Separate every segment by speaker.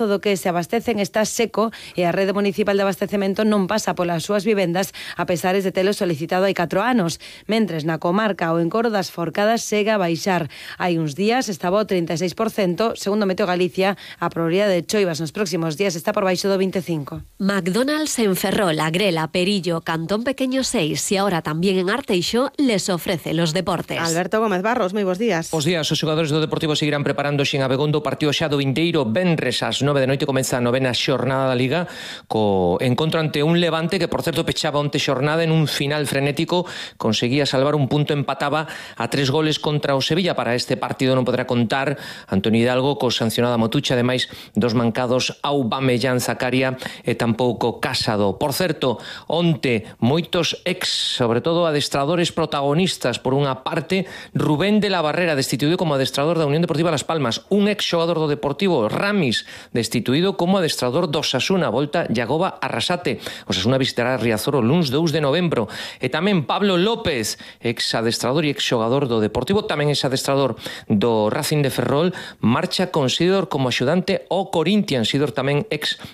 Speaker 1: do que se abastecen está seco e a rede municipal de abastecemento non pasa polas súas vivendas a pesares de telo solicitado hai 4 anos. Mentres na comarca o encoro das Forcadas segue a baixar. Hai uns días estaba o 36%, segundo Meteo Galicia, a probabilidade de choivas nos próximos días está por baixo do 25%.
Speaker 2: McDonald's en Ferrol, Agrela, Perillo, Cantón Pequeño 6 y ahora también en Arteixo les ofrece los deportes.
Speaker 3: Alberto Gómez Barros, moi bons días.
Speaker 4: Os días, os xogadores do Deportivo seguirán preparándose en Abegondo o partido xa do vindeiro venres ás 9 de noite comeza a 9ª xornada da Liga co encontro ante un Levante que, por certo, pechaba onte xornada en un final frenético, conseguía salvar un punto, empataba a 3 goles contra o Sevilla. Para este partido non poderá contar Antonio Hidalgo co sancionado a Motucha, ademais dos mancados Aubameyang, Zakaria e tampouco Casado. Por certo, onte moitos sobre todo adestradores protagonistas. Por unha parte, Rubén de la Barrera, destituído como adestrador da Unión Deportiva Las Palmas. Un xogador do Deportivo, Ramis, destituído como adestrador do Osasuna. Volta Yagoba Arrasate. Osasuna visitará Riazor o luns 2 de novembro. E tamén Pablo López, adestrador e xogador do Deportivo, tamén adestrador do Racing de Ferrol, marcha con Sidor como axudante ao Corinthians. Sidor tamén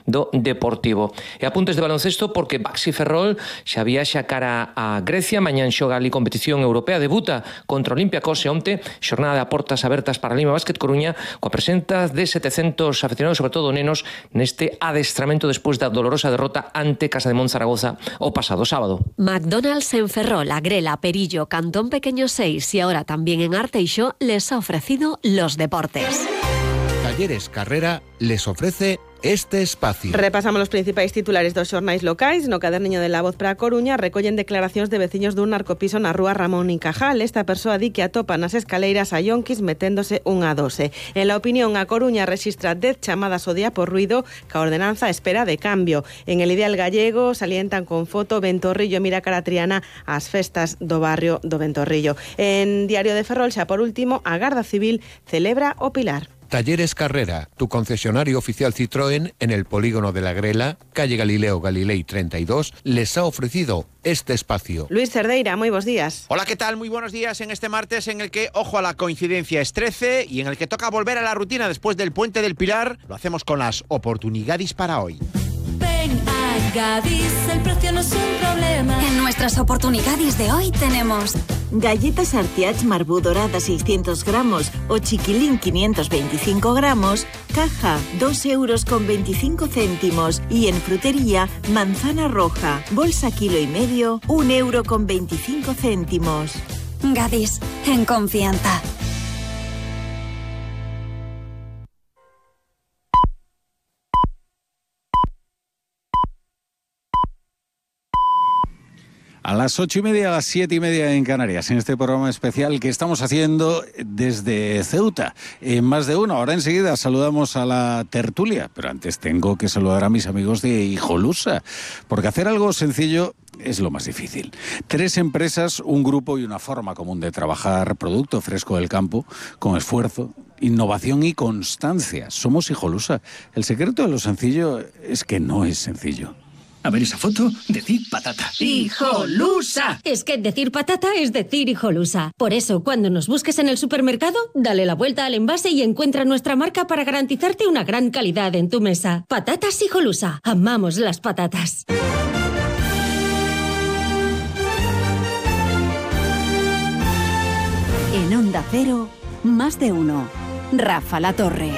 Speaker 4: do Deportivo. E apuntes de baloncesto porque Baxi Ferrol xa viaxa cara a Grecia. Mañán xoga ali competición europea, debuta contra Olympiacos e onte xornada de portas abertas para Lima Basket Coruña coa presenza de 700 afeccionados, sobre todo nenos, neste adestramento despois da dolorosa derrota ante Casa de Monzaragoza o pasado sábado.
Speaker 2: McDonald's en Ferrol, Agrela, Perillo, Cantón Pequeño 6 y ahora también en Arteixo les ha ofrecido los deportes.
Speaker 5: Talleres Carrera les ofrece este espacio.
Speaker 3: Repasamos os principais titulares dos xornais locais. No caderniño de La Voz para a Coruña recollen declaracións de veciños dun narcopiso na rúa Ramón y Cajal. Esta persoa di que atopa nas escaleiras a yonquis meténdose unha dose. En La Opinión, a Coruña registra 10 chamadas ao día por ruido que a ordenanza espera de cambio. En El Ideal Gallego salientan con foto Ventorrillo mira cara Triana ás festas do barrio do Ventorrillo. En Diario de Ferrol, xa por último, a Garda Civil celebra o Pilar.
Speaker 5: Talleres Carrera, tu concesionario oficial Citroën en el polígono de la Grela, calle Galileo Galilei 32, les ha ofrecido este espacio.
Speaker 3: Luis Cerdeira, muy buenos días.
Speaker 6: Hola, ¿qué tal? Muy buenos días en este martes en el que, ojo a la coincidencia, es 13 y en el que toca volver a la rutina después del Puente del Pilar. Lo hacemos con las oportunidades para hoy.
Speaker 7: Ven a Gadis, el precio no es un problema. En nuestras oportunidades de hoy tenemos
Speaker 8: galletas Artiach Marbú dorada 600 gramos o chiquilín 525 gramos, caja 2,25 €. Y en frutería, manzana roja, bolsa 1,5 kg, 1,25 €.
Speaker 7: Gadis, en confianza.
Speaker 9: A las 8:30, a las 7:30 en Canarias, en este programa especial que estamos haciendo desde Ceuta, en Más de Uno. Ahora enseguida saludamos a la tertulia, pero antes tengo que saludar a mis amigos de Hijolusa, porque hacer algo sencillo es lo más difícil. 3 empresas, un grupo y una forma común de trabajar producto fresco del campo, con esfuerzo, innovación y constancia. Somos Hijolusa. El secreto de lo sencillo es que no es sencillo.
Speaker 10: A ver esa foto, decir patata.
Speaker 11: ¡Hijolusa! Es que decir patata es decir Hijolusa. Por eso, cuando nos busques en el supermercado, dale la vuelta al envase y encuentra nuestra marca para garantizarte una gran calidad en tu mesa. Patatas Hijolusa. Amamos las patatas.
Speaker 12: En Onda Cero, Más de Uno. Rafa La Torre.